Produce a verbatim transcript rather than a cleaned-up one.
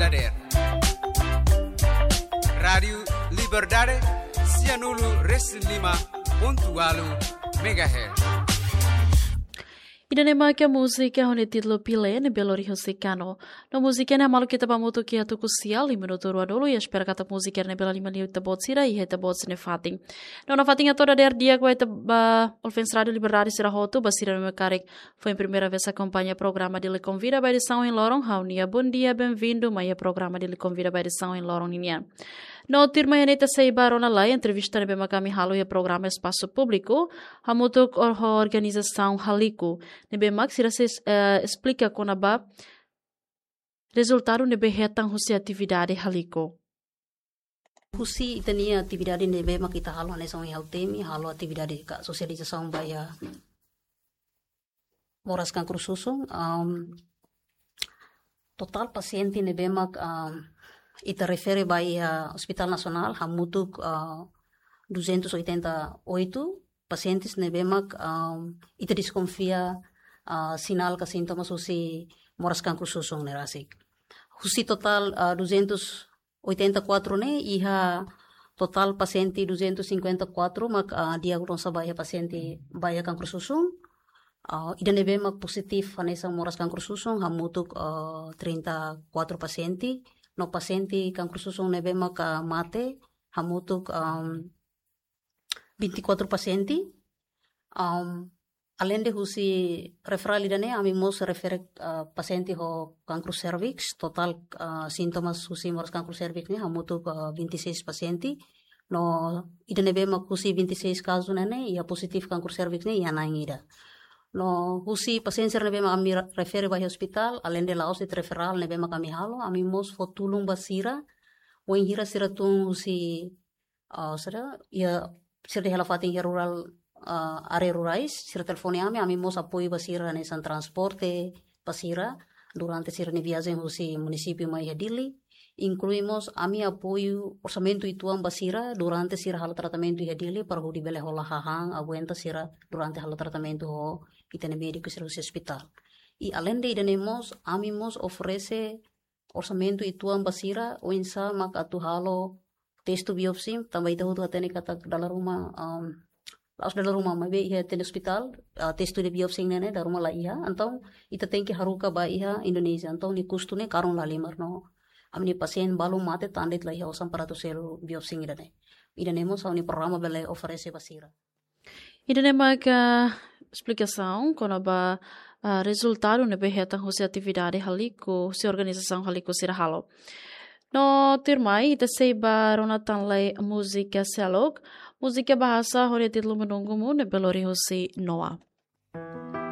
Dader. Rádiu Liberdade, sianulu resin lima pontu ualu megahertz. Ida-ne'e mak múzika ho nia títulu Pile ne'ebé lori husi Kano. No múzika ne'e maluk ita ba hamutuk iha tuku sia, lima minutu ruanulu, i espera katak múzika ne'e bele lori ita-boot sira iha ita-boot sira-nia fatin. No nafatin hato'o dader di'ak ba ita ba ouvinte Rádiu Liberdade sira hotu, ba sira ne'ebé karik foin primeira vez akompaña programa Dili Konvida ba edisaun ohin loron, ha'u-nia bondia, benvindu mai iha programa Dili Konvida ba edisaun ohin loron ninian. No tuirmai ne'e ita sei ba rona lai entrevista ne'ebé mak ami halo iha programa Espasu Públiku, hamutuk ho organizasaun Haliku, ne'ebé mak sira sei, eh, esplika kona-ba rezultadu ne'ebé hetan husi atividade Haliku. Husi ita-nia atividade ne'ebé mak ita halo hanesan ohin ha'u temi, halo atividade ka sosializasaun ba iha moras kankru susun, am, totál pasiente ne'ebé mak, am, ita refere ba iha Hospital Nasionál hamutuk, ah, duzentos oitenta e oito pasientes ne'ebé mak, am, ita deskonfia, ah, sinál ka sintomas husi moras kankru susun ne'e rasik. Husi totál, ah, duzentos oitenta e quatro ne'e iha totál pasiente duzentos cinquenta e quatro mak, ah, diagnosa ba iha pasiente ba iha kankru susun. Ah, ida ne'ebé mak pozitif hanesan moras kankru susun hamutuk, ah, trinta e quatro pasiente. No pasiente kankru susun ne'ebé mak, ah, mate hamutuk, am, vinte e quatro pasiente. Am, alende husi referál ida-ne'e, ami mós refere, ah, pasiente ho kankru serviks, totál, ah, sintomas husi moras kankru serviks ne'e hamutuk, ah, vinte e seis pasiente. No ida ne'ebé mak husi vinte e seis kazu ne'e, iha pozitif kankru serviks ne'e iha na'in ida. No husi pasiente sira ne'ebé mak ami ra-, refere ba iha hospital, alende la'ós de'it referál ne'ebé mak ami halo, ami mós fó tulun ba sira, wainhira sira tun husi, ah, sira, iha, sira iha hela fatin iha rurál, ah, área rurais, sira telefone ami, ami mós apoiu ba sira hanesan transporte ba sira durante sira-nia viajen husi munisípiu mai iha Dili. Inklui mós ami apoiu orsamentu uitoan ba sira durante sira halo tratamentu iha Dili, para hodi bele hola hahán, aguenta sira durante halo tratamentu ho ita-nia médiku sira husi hospital. I alende ida-ne'e mós, ami mós oferese orsamentu uitoan ba sira, oinsá mak atu halo testu biopsi, tanba ita hotu hatene katak dala ruma, am, la'ós dala ruma, maibé iha ita-nia hospital, ah, testu de biopsi ne'e, ne'e dala ruma la iha, entaun ita tenke haruka ba iha Indonézia, entaun nia kustu ne'e karun lahalimar no ami-nia pasiente balu mate tanba de'it la iha osan para atu selu biopsi ida-ne'e. Ida-ne'e mós ha'u-nia programa bele oferese ba sira. Ida-ne'e maka esplikasaun kona-ba, ah, rezultadu ne'ebé hetan husi atividade Haliku, husi organizasaun Haliku sira halo. No tuirmai, ita sei ba rona tan lai múzika seluk, múzika bahasa ho nia títulu Menunggumu ne'ebé lori husi Noah.